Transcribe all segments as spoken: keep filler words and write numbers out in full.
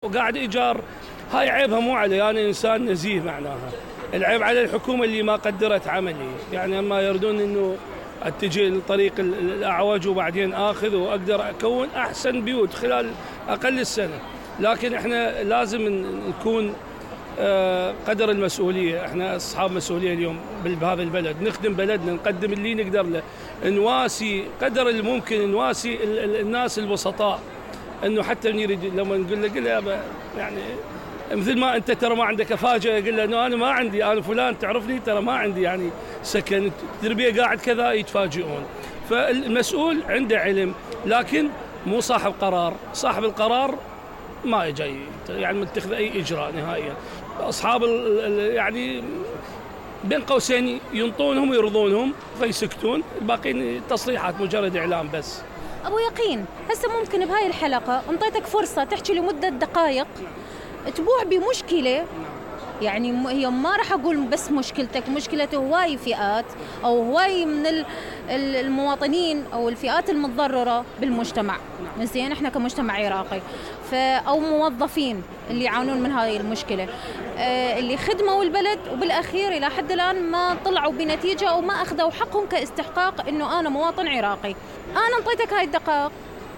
وقاعد إيجار. هاي عيبها مو علي، أنا إنسان نزيه معناها، العيب على الحكومة اللي ما قدرت عملي. يعني أما يردون إنه أتجي لطريق الأعوج وبعدين آخذ وأقدر أكون أحسن بيوت خلال أقل السنة، لكن إحنا لازم نكون قدر المسؤولية. إحنا أصحاب مسؤولية اليوم بهذا البلد، نخدم بلدنا، نقدم اللي نقدر له، نواسي قدر الممكن، نواسي الناس البسطاء. إنه حتى نريد لما نقول له قل له يعني مثل ما أنت ترى ما عندك أفاجأ، قل له إنه أنا ما عندي، أنا فلان تعرفني ترى ما عندي يعني سكن، تربية قاعد كذا، يتفاجئون. فالمسؤول عنده علم، لكن مو صاحب قرار. صاحب القرار ما يجي يعني متخذ أي إجراء نهائيا. أصحاب يعني بين قوسين ينطونهم ويرضونهم فيسكتون، الباقين تصريحات مجرد إعلام بس. أبو يقين، هسه ممكن بهاي الحلقة انطيتك فرصة تحكي لمدة دقائق تبوع بمشكلة، يعني هي ما راح أقول بس مشكلتك، مشكلة هواي فئات أو هواي من المواطنين أو الفئات المتضررة بالمجتمع. زين، إحنا كمجتمع عراقي أو موظفين اللي يعانون من هاي المشكلة، اللي خدموا البلد وبالأخير إلى حد الآن ما طلعوا بنتيجة أو ما أخذوا حقهم كاستحقاق إنه أنا مواطن عراقي. أنا انطيتك هاي الدقائق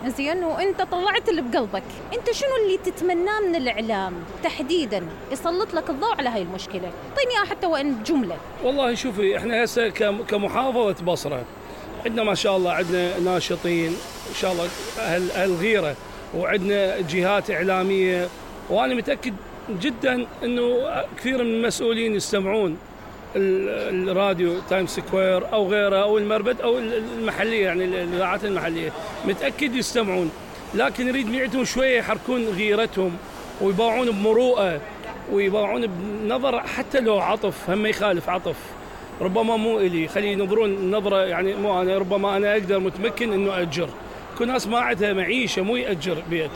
زين وانت طلعت اللي بقلبك، انت شنو اللي تتمناه من الاعلام تحديدا يسلط لك الضوء على هاي المشكله؟ اعطيني حتى وان بجمله. والله شوفي، احنا هسه كمحافظه بصره عندنا ما شاء الله، عندنا ناشطين ان شاء الله اهل اهل غيره، وعندنا جهات اعلاميه، وانا متاكد جدا انه كثير من المسؤولين يستمعون الراديو تايم سكوير او غيره او المربد او المحليه، يعني الاذاعات المحليه متاكد يستمعون، لكن نريد نعتهم شويه يحركون غيرتهم ويباعون بمروءه ويباعون بنظر حتى لو عطف، هم يخالف عطف ربما مو الي، خلي ينظرون نظره يعني مو انا، ربما انا اقدر متمكن انه اجر. كل ناس ما عندها معيشه مو ياجر بيت.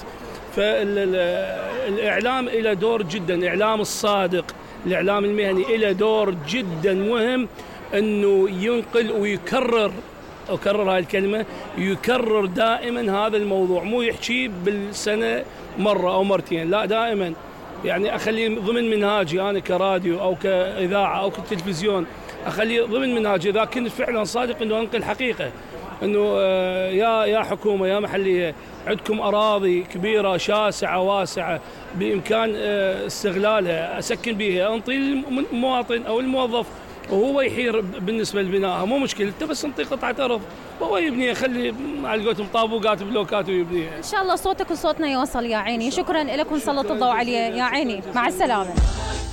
فالاعلام له دور جدا، الاعلام الصادق، الإعلام المهني له دور جدا مهم، أنه ينقل ويكرر، أكرر هاي الكلمة، يكرر دائما هذا الموضوع، مو يحكي بالسنة مرة أو مرتين، لا دائما يعني أخليه ضمن منهاجي أنا كراديو أو كإذاعة أو كتلفزيون، أخليه ضمن منهاجي إذا كنت فعلا صادق أنه أنقل حقيقة، أنه يا يا حكومة يا محلية عندكم أراضي كبيرة شاسعة واسعة بإمكان استغلالها، أسكن بها، أنطي المواطن أو الموظف وهو يحير بالنسبة لبنائها، مو مشكلة، أنت بس انطي قطعة أرض وهو يبنيها، خلي على قولتهم طابوقات بلوكات ويبنيها. إن شاء الله صوتك وصوتنا يوصل يا عيني. شكرا لكم، سلط الضوء عليه يا عيني، مع السلامة.